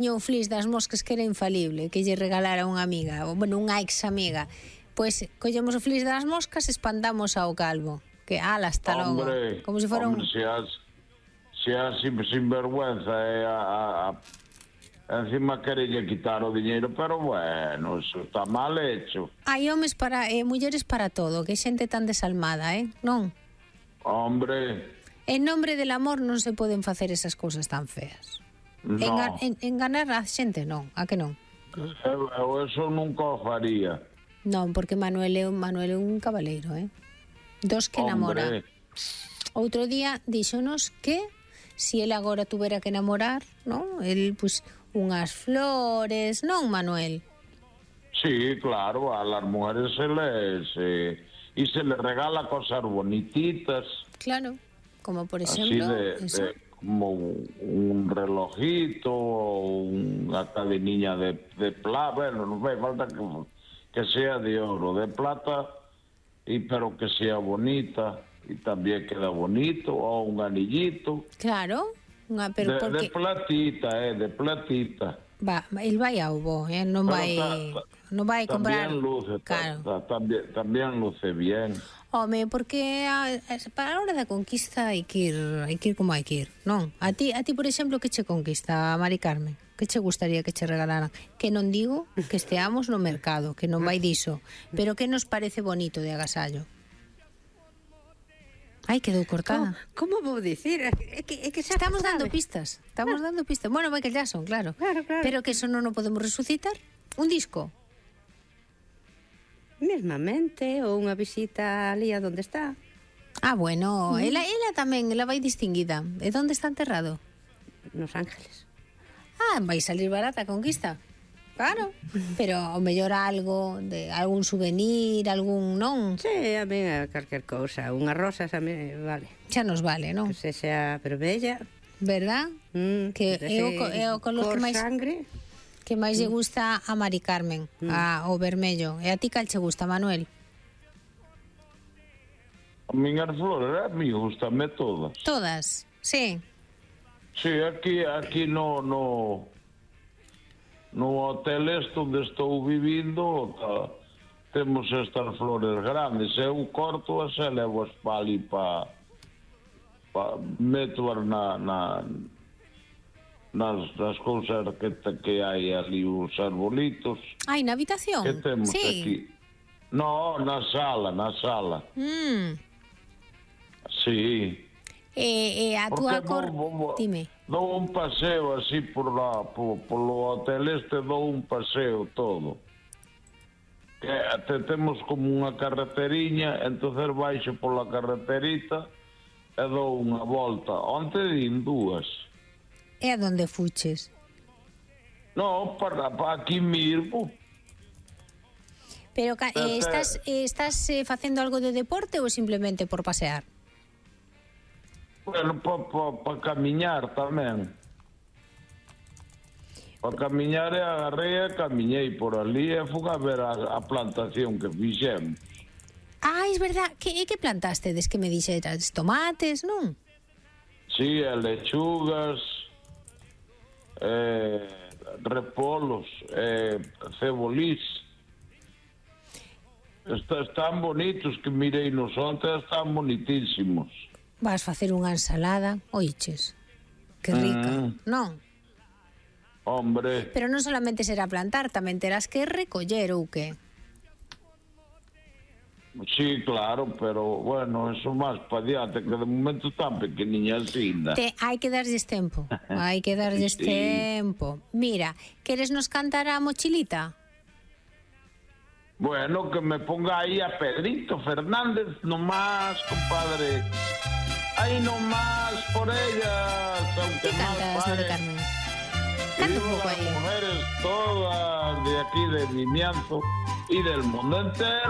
tiña un flis das moscas que era infalible, que lle regalara unha amiga, ou, bueno, unha ex amiga. Pois collemos o flis das moscas e espantamos ao calvo. Que ala, hasta logo. Como se fora un... Se has sinvergüenza encima querelle quitar o diñeiro, pero bueno, eso está mal hecho. Hai homes para mulleres para todo, que xente tan desalmada, non? Hombre. En nombre del amor non se poden facer esas cousas tan feas. No. Enganar a xente non, a que non? Eu eso nunca o faría. Non, porque Manuel é un cabaleiro, dos que namora. Outro día díxonos que si ele agora tuvera que namorar, non? El, pues, unhas flores, non, Manuel? Sí, claro, a las mujeres se les regala cosas bonititas. Claro, como por ejemplo... como un relojito, una cadenilla de plata, bueno, no hace falta que sea de oro, de plata, pero que sea bonita, y también queda bonito, o un anillito. Claro, pero porque... de platita, de platita. Va, el vai ao bo, non vai comprar... También luce, claro. También luce bien. Home, porque para a hora da conquista hai que ir como hai que ir, non? A ti, por exemplo, que che conquista, Mari Carmen? Que che gustaría que che regalaran? Que non digo que esteamos no mercado, que non vai diso, pero que nos parece bonito de agasallo? Ai, quedou cortada. Como vou dicir? É que xa estamos dando pistas. Estamos dando pistas. Bueno, Michael Jackson, claro. Pero que eso non o podemos resucitar. Un disco. Mesmamente, ou unha visita ali a donde está. Ah, bueno, ela tamén, ela vai distinguida. E onde está enterrado? Nos Ángeles. Ah, vai salir barata a conquista. Claro, pero o mellor algo, de algún souvenir, algún, non? Sí, a mí calquer cousa, unha rosa xa me vale. Xa nos vale, non? Que sexa, pero bella. Verdad? Que é o color que máis... sangre. Que máis lle gusta a Mari Carmen, o vermello. E a ti cal che gusta, Manuel? A miñas flores, a mí gustame todas. Todas, sí. Sí, aquí no hotel onde estou vivindo temos estas flores grandes. Eu corto as e levo as pa ali meto-as nas cousas que hai ali, os arbolitos. Ai, na habitación? Que temos aquí? No, na sala. Sí. E a túa cor... Dime. Dou un paseo así polo hotel dou un paseo todo. Temos como unha carreteriña, entonces baixo pola carreterita e dou unha volta. Onte din dúas. E a donde fuches? No, para aquí mesmo. Pero estás facendo algo de deporte ou simplemente por pasear? Bueno, para camiñar tamén. Para camiñar agarrei e camiñei por ali e fui a ver a plantación que fixemos. Ah, é verdad. Que plantaste? Des que me dixeras tomates, non? Sí, lechugas, repolos, cebolís. Están bonitos, que mirei nos onte, están bonitísimos. Vas facer unha ensalada, oiches, que rica, non? Hombre. Pero non solamente será plantar, tamén terás que recoller ou que? Sí, claro, pero bueno, eso máis pa diante, que de momento tan pequeniña ainda. Hai que darlles tempo, hai que darlles tempo. Mira, queres nos cantar a mochilita? Bueno, que me ponga aí a Pedrito Fernández nomás, compadre. Ahí nomás por ellas, aunque ¿qué cantas, Mari Carmen? Canta un poco ahí. Las mujeres todas de aquí de Vimianzo y del mundo entero.